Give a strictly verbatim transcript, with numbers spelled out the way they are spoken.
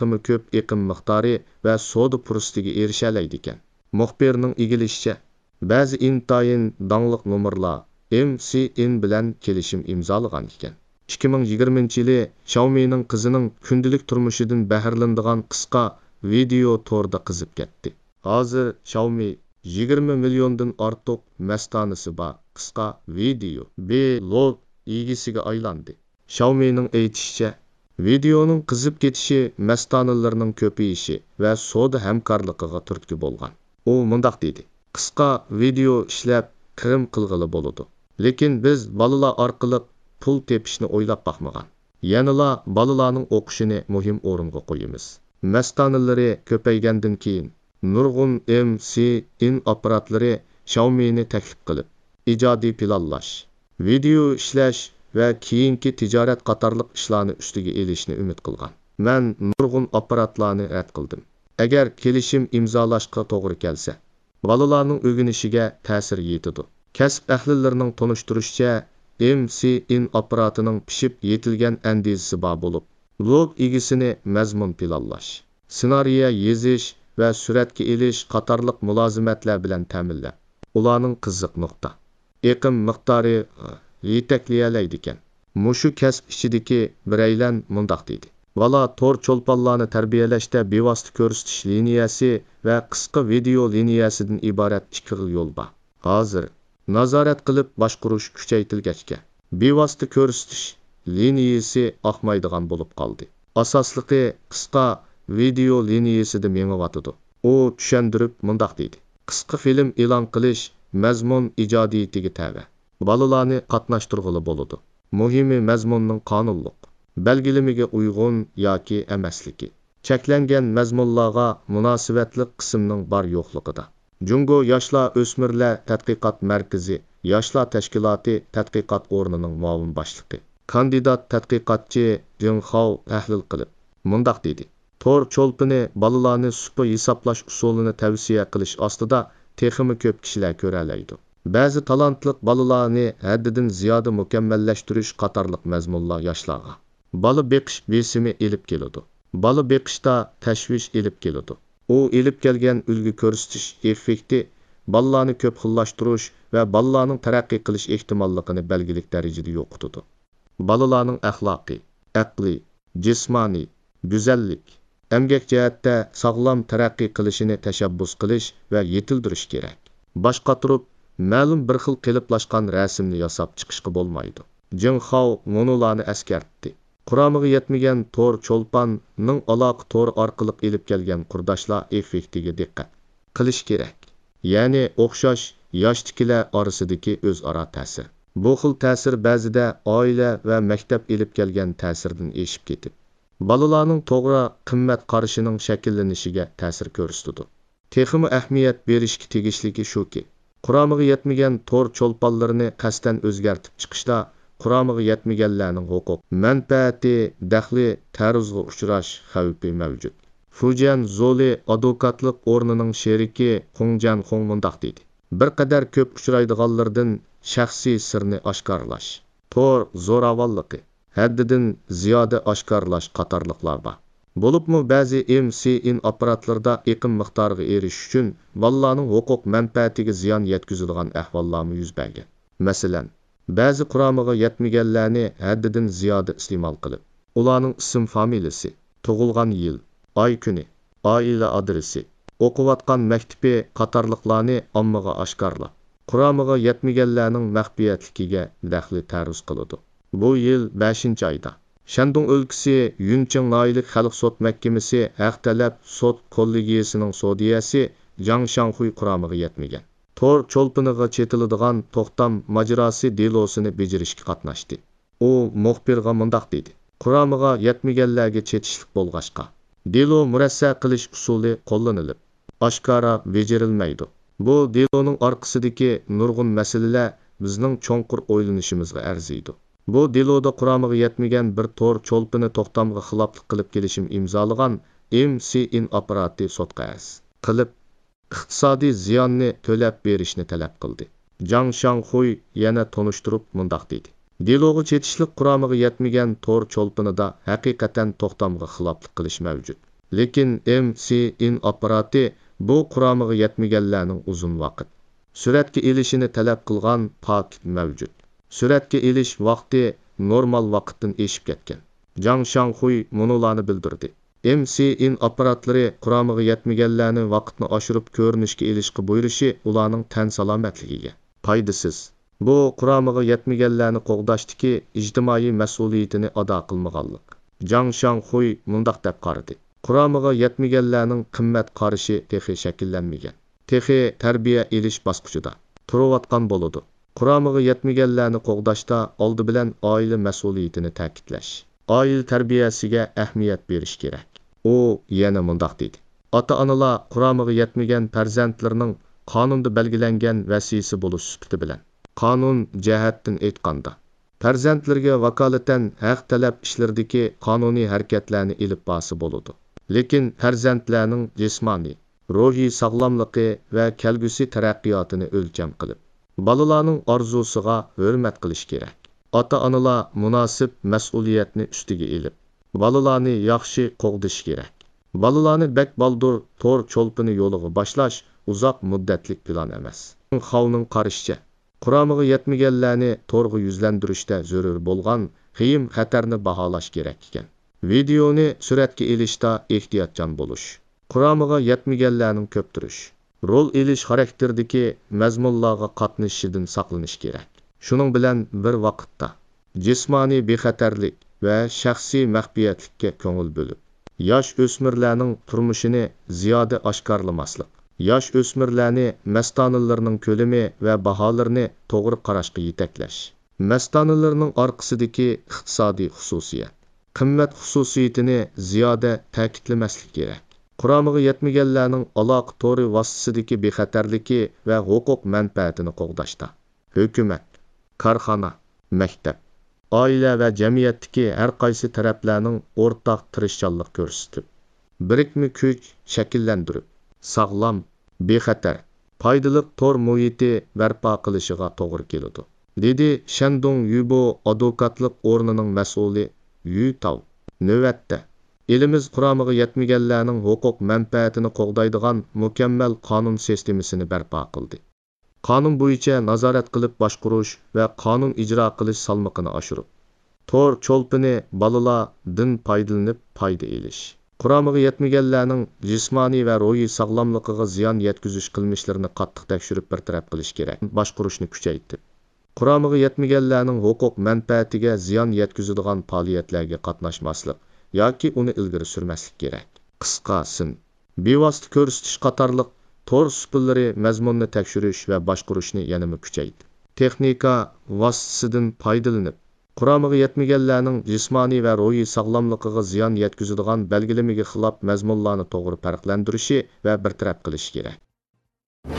تېخىمۇ كۆپ ئېقىم مىقدارى ۋە سودا پۇرسىتىگە ئېرىشەلەيدىكەن. مۇخبىرنىڭ ئىگىلىشىچە، بەزى ئىنتايىن داڭلىق نومۇرلار ئېم سى ئېن بىلەن كېلىشىم ئىمزالىغان ئىكەن. ئىككى مىڭ يىگىرمىنچى يىلى شاۋمىنىڭ قىزىنىڭ كۈندىلىك تۇرمۇشىدىن بەھرىلىنىدىغان قىسقا ۋىدېئو توردا قىزىپ كەتتى. ھازىر شاۋمى يىگىرمە مىليوندىن ئارتۇق مەستانىسى بار قىسقا ۋىدېئو بلوگ ئىگىسىگە ئايلاندى. شاۋمىنىڭ ئېيتىشىچە، ۋىدېئونىڭ قىزىپ كېتىشى مەستانىلىرىنىڭ كۆپىيىشى ۋە سودا ھەمكارلىقىغا تۈرتكە بولغان. ئۇ مۇنداق دېدى: «قىسقا ۋىدېئو ئىشلەپ، كىرىم قىلغىلى بولىدۇ. لېكىن بىز بالىلار ئارقىلىق پۇل تېپىشنى ئويلاپ باقمىغان. يەنىلا بالىلارنىڭ ئوقۇشىنى مۇھىم ئورۇنغا قويىمىز.» مەستانىلىرى كۆپەيگەندىن كېيىن، نۇرغۇن ئېم سى ئېن ئاپپاراتلىرى شاۋمىنى تەكلىپ قىلىپ، ئىجادىي پىلانلاش، ۋىدېئو ئىشلەش ۋە كېيىنكى تىجارەت قاتارلىق ئىشلارنى ئۈستىگە ئېلىشنى ئۈمىد قىلغان. مەن نۇرغۇن ئاپپاراتلارنى رەت قىلدىم. ئەگەر كېلىشىم ئىمزالاشقا توغرا كەلسە، بالىلارنىڭ ئۆگىنىشىگە تەسىر يېتىدۇ. كەسىپ ئەھلىلىرىنىڭ تونۇشتۇرۇشىچە، ئېم سى ئېن ئاپپاراتىنىڭ پىشىپ يېتىلگەن ئەندىزىسى بار بولۇپ، بلوگ ئىگىسىنى مەزمۇن پىلانلاش، سېنارىيە يېزىش ۋە سۈرەتكە ئېلىش قاتارلىق مۇلازىمەتلەر بىلەن تەمىنلەپ، ئۇلارنىڭ قىزىق نۇقتا، ئېقىم مىقدارى يېتەكلىيەلەيدىكەن. مۇشۇ كەسىپ ئىچىدىكى بىرەيلەن مۇنداق دېدى: «بالا تور چولپانلارنى تەربىيەلەشتە بىۋاسىتە كۆرسىتىش لىنىيەسى ۋە قىسقا ۋىدېئو لىنىيەسىدىن ئىبارەت ئىككى خىل يول بار. ھازىر نازارەت قىلىپ باشقۇرۇش كۈچەيتىلگەچكە، بىۋاسىتە كۆرسىتىش لىنىيەسى ئاقمايدىغان بولۇپ قالدى. ئاساسلىقى قىسقا ۋىدېئو لىنىيەسىدە مېڭىۋاتىدۇ.» ئۇ چۈشەندۈرۈپ مۇنداق دېدى: «قىسقا فىلىم ئېلان قىلىش مەزمۇن ئىجادىيىتىگە تەۋە. بالىلارنى قاتناشتۇرغىلى بولىدۇ. مۇھىمى مەزمۇننىڭ قانۇنلۇق بەلگىلىمىگە ئۇيغۇن ياكى ئەمەسلىكى، چەكلەنگەن مەزمۇنلارغا مۇناسىۋەتلىك قىسىمنىڭ بار يوقلۇقىدا.» جۇڭگو ياشلار ئۆسمۈرلەر تەتقىقات مەركىزى ياشلار تەشكىلاتى تەتقىقات ئورنىنىڭ مۇئاۋىن باشلىقى، كاندىدات تەتقىقاتچى جېڭ خاۋ تەھلىل قىلىپ مۇنداق دېدى: «تور چولپىنى بالىلارنى سۇپا ھېسابلاش ئۇسۇلىنى تەۋسىيە قىلىش ئاستىدا تېخىمۇ كۆپ كىشىلەر كۆرەلەيدۇ. بەزى تالانتلىق بالىلارنى ھەددىدىن زىيادە مۇكەممەللەشتۈرۈش قاتارلىق مەزمۇنلار ياشلارغا بالا بېقىش بېسىمى ئېلىپ كېلىدۇ. بالا بېقىشتا تەشۋىش ئېلىپ كېلىدۇ. ئۇ ئېلىپ كەلگەن ئۈلگە كۆرسىتىش ئېففېكتى بالىلارنى كۆپ خىللاشتۇرۇش ۋە بالىلارنىڭ تەرەققىي قىلىش ئېھتىماللىقىنى بەلگىلىك دەرىجىدە يوقىتىدۇ. بالىلارنىڭ ئەخلاقىي، ئەقلىي، جىسمانىي، گۈزەللىك، ئەمگەك جەھەتتە ساغلام تەرەققىي قىلىشىنى تەشەببۇس قىلىش ۋە يېتىلدۈرۈش كېرەك. باش قاتۇرۇپ، مەلۇم بىر خىل قېلىپلاشقان رەسىمنى ياساپ چىقىشقا بولمايدۇ.» جېڭ خاۋ مۇنۇلارنى ئەسكەرتتى: «قۇرامىغا يەتمىگەن تور چولپاننىڭ ئالاقە تورى ئارقىلىق ئېلىپ كەلگەن قۇرداشلار ئېففېكتىگە دىققەت قىلىش كېرەك. يەنى ئوخشاش ياشتىكىلەر ئارىسىدىكى ئۆزئارا تەسىر. بۇ خىل تەسىر بەزىدە ئائىلە ۋە مەكتەپ ئېلىپ كەلگەن تەسىردىن ئېشىپ كېتىپ، بالىلارنىڭ توغرا قىممەت قارىشىنىڭ شەكىللىنىشىگە تەسىر كۆرسىتىدۇ.» تېخىمۇ ئەھمىيەت بېرىشكە تېگىشلىكى شۇكى، قۇرامىغا يەتمىگەن تور چولپانلىرىنى قەستەن ئۆزگەرتىپ چىقىشتا قۇرامىغا يەتمىگەنلەرنىڭ ھوقۇق، مەنپەئەتى دەخلى تەرۇزغا ئۇچراش خەۋپى مەۋجۇت. فۇجيەن زولى ئادۋوكاتلىق ئورنىنىڭ شېرىكى خۇڭ جەنخۇڭ مۇنداق دېدى: «بىر قەدەر كۆپ ئۇچرايدىغانلىرىدىن شەخسىي سىرنى ئاشكارىلاش، تور زوراۋانلىقى، ھەددىدىن زىيادە ئاشكارىلاش قاتارلىقلار بار. بولۇپمۇ بەزى ئېم سى ئېن ئاپپاراتلىرىدا ئېقىم مىقدارىغا ئېرىشىش ئۈچۈن بالىلارنىڭ ھوقۇق مەنپەئەتىگە زىيان يەتكۈزىدىغان ئەھۋاللارمۇ يۈز بەرگەن. مەسىلەن، بەزى قۇرامىغا يەتمىگەنلەرنى ھەددىدىن زىيادە ئىستېمال قىلىپ، ئۇلارنىڭ ئىسىم فامىلىسى، تۇغۇلغان يىل، ئاي كۈنى، ئائىلە ئادرېسى، ئوقۇۋاتقان مەكتىپى قاتارلىقلارنى ئاممىغا ئاشكارىلاپ، قۇرامىغا يەتمىگەنلەرنىڭ مەخپىيەتلىكىگە دەخلى تەرۇز قىلىدۇ. بۇ يىل بەشىنچى ئايدا، شەندۇڭ ئۆلكىسى يۈنچىڭ ناھىيەلىك خەلق سوت مەھكىمىسى ھەق تەلەپ سوت كوللېگىيەسىنىڭ سودىيەسى جاڭ شياڭخۇي قۇرامىغا يەتمىگەن تور چولپىنىغا چېتىلىدىغان توختام ماجىراسى دېلوسىنى بېجىرىشكە قاتناشتى. ئۇ مۇخبىرغا مۇنداق دېدى: «قۇرامىغا يەتمىگەنلەرگە چېتىشلىق بولغاچقا، دېلو مۇرەسسە قىلىش ئۇسۇلى قوللىنىلىپ، ئاشكارا بېجىرىلمەيدۇ. بۇ دېلونىڭ ئارقىسىدىكى نۇرغۇن مەسىلىلەر بىزنىڭ چوڭقۇر ئويلىنىشىمىزغا ئەرزىيدۇ. بۇ دېلودا قۇرامىغا يەتمىگەن بىر تور چولپىنى توختامغا خىلاپلىق قىلىپ كېلىشىم ئىمزالىغان ئېم سى ئېن ئاپپاراتى سوتقا ئەرز قىلىپ، ئىقتىسادىي زىياننى تۆلەپ بېرىشنى تەلەپ قىلدى.» جاڭ شياڭخۇي يەنە تونۇشتۇرۇپ مۇنداق دېدى: «دېلوغا چېتىشلىق قۇرامىغا يەتمىگەن تور چولپىنىدا ھەقىقەتەن توختامغا خىلاپلىق قىلىش مەۋجۇت. لېكىن ئېم سى ئېن ئاپپاراتى بۇ قۇرامىغا يەتمىگەنلەرنىڭ ئۇزۇن ۋاقىت سۈرەتكە ئېلىشىنى تەلەپ قىلغان پاكىت مەۋجۇت. سۈرەتكە ئېلىش ۋاقتى نورمال ۋاقىتتىن ئېشىپ كەتكەن. جاڭ شاڭخۇي مۇنۇلارنى بىلدۈردى. ئېم سى ئېن ئاپپاراتلىرى قۇرامىغا يەتمىگەنلەرنى ۋاقىتنى ئاشۇرۇپ كۆرۈنۈشكە ئېلىشقا بۇيرۇشى ئۇلارنىڭ تەن سالامەتلىكىگە پايدىسىز. بۇ قۇرامىغا يەتمىگەنلەرنى قوغداشتىكى ئىجتىمائىي مەسئۇلىيىتىنى ئادا قىلمىغانلىق. جاڭ شاڭخۇي مۇنداق دەپ قارىدى، قۇرامىغا يەتمىگەنلەرنىڭ قىممەت قارىشى تېخى شەكىللەنمىگەن. تېخى تەربىيە ئېلىش باسقۇچىدا تۇرۇۋاتقان بولىدۇ. قۇرامىغا يەتمىگەنلەرنى قوغداشتا ئالدى بىلەن ئائىلە مەسئۇلىيىتىنى تەكىتلەش، ئائىلە تەربىيەسىگە ئەھمىيەت بېرىش كېرەك. ئۇ يەنە مۇنداق دېدى، ئاتا-ئانىلار قۇرامىغا يەتمىگەن پەرزەنتلىرىنىڭ قانۇندا بەلگىلەنگەن ۋەسىيسى بولۇش سۈپىتى بىلەن، قانۇن جەھەتتىن ئېيتقاندا، پەرزەنتلىرىگە ۋاكالىتەن ھەق تەلەپ ئىشلىرىدىكى قانۇنىي ھەرىكەتلەرنى ئېلىپ بارسا بولىدۇ. لېكىن پەرزەنتلەرنىڭ جىسمانىي، روھىي ساغلاملىقى ۋە كەلگۈسى تەرەققىياتىنى ئۆلچەم قىلىپ، بالىلارنىڭ ئارزۇسىغا ھۆرمەت قىلىش كېرەك. ئاتا-ئانىلار مۇناسىپ مەسئۇلىيەتنى ئۈستىگە ئېلىپ، بالىلارنى ياخشى قوغدىشى كېرەك. بالىلارنى بەك بالدۇر تور چولپىنى يولىغا باشلاش ئۇزاق مۇددەتلىك پىلان ئەمەس. خاۋنىڭ قارىشىچە، قۇرامىغا يەتمىگەنلەرنى تورغا يۈزلەندۈرۈشتە زۆرۈر بولغان قىيىن خەتەرنى باھالاش كېرەك ئىكەن. ۋىدېئونى سۈرەتكە ئېلىشتا ئېھتىياتچان بولۇش، قۇرامىغا يەتمىگەنلەرنىڭ كۆپتۈرۈش، رول ئېلىش خاراكتېرىدىكى مەزمۇنلارغا قاتنىشىشىدىن ساقلىنىش كېرەك. شۇنىڭ بىلەن بىر ۋاقىتتا، جىسمانىي بىخەتەرلىك ۋە شەخسىي مەخپىيەتلىككە كۆڭۈل بۆلۈپ، ياش ئۆسمۈرلەرنىڭ تۇرمۇشىنى زىيادە ئاشكارىلىماسلىق، ياش ئۆسمۈرلەرنى مەستانىلىرىنىڭ كۆلىمى ۋە باھالىرىنى توغرا قاراشقا يېتەكلەش، مەستانىلىرىنىڭ ئارقىسىدىكى ئىقتىسادىي خۇسۇسىيەت، قىممەت خۇسۇسىيىتىنى زىيادە تەكىتلىمەسلىك كېرەك. قۇرامىغا يەتمىگەنلەرنىڭ ئالاقە تورى ۋاسىتىسىدىكى بىخەتەرلىكى ۋە ھوقۇق مەنپەئەتىنى قوغداشتا، ھۆكۈمەت، كارخانا، مەكتەپ، ئائىلە ۋە جەمئىيەتتىكى ھەر قايسى تەرەپلەرنىڭ ئورتاق تىرىشچانلىق كۆرسىتىپ، بىرىكمە كۈچ شەكىللەندۈرۈپ، ساغلام، بىخەتەر، پايدىلىق تور مۇھىتى بەرپا قىلىشىغا توغرا كېلىدۇ، دېدى شەندۇڭ يۈبو ئادۋوكاتلىق ئورنىنىڭ مەسئۇلى يۈ تاۋ. نۆۋەتتە، ئېلىمىز قۇرامىغا يەتمىگەنلەرنىڭ ھوقۇق مەنپەئەتىنى قوغدايدىغان مۇكەممەل قانۇن سىستېمىسىنى بەرپا قىلدى. قانۇن بويىچە نازارەت قىلىپ باشقۇرۇش ۋە قانۇن ئىجرا قىلىش سالمىقىنى ئاشۇرۇپ، تور چولپىنى بالىلار دىن پايدىلىنىپ پايدا ئېلىش، قۇرامىغا يەتمىگەنلەرنىڭ جىسمانىي ۋە روھىي ساغلاملىقىغا زىيان يەتكۈزۈش قىلمىشلىرىنى قاتتىق تەكشۈرۈپ بىر تەرەپ قىلىش كېرەك. باشقۇرۇشنى كۈچەيتىپ، قۇرامىغا يەتمىگەنلەرنىڭ ھوقۇق مەنپەئەتىگە زىيان يەتكۈزىدىغان پائالىيەتلەرگە قاتناشماسلىق ياكى ئۇنى ئىلگىرى سۈرمەسلىك كېرەك. قىسقا سىن، بىۋاسىتە كۆرسىتىش قاتارلىق تور ئۇسۇللىرى مەزمۇننى تەكشۈرۈش ۋە باشقۇرۇشنى يەنىمۇ كۈچەيتىپ، تېخنىكا ۋاسىتىسىدىن پايدىلىنىپ، قۇرامىغا يەتمىگەنلەرنىڭ جىسمانىي ۋە روھىي ساغلاملىقىغا زىيان يەتكۈزىدىغان بەلگىلىمىگە خىلاپ مەزمۇنلارنى توغرا پەرقلەندۈرۈشى ۋە بىر تەرەپ قىلىشى كېرەك.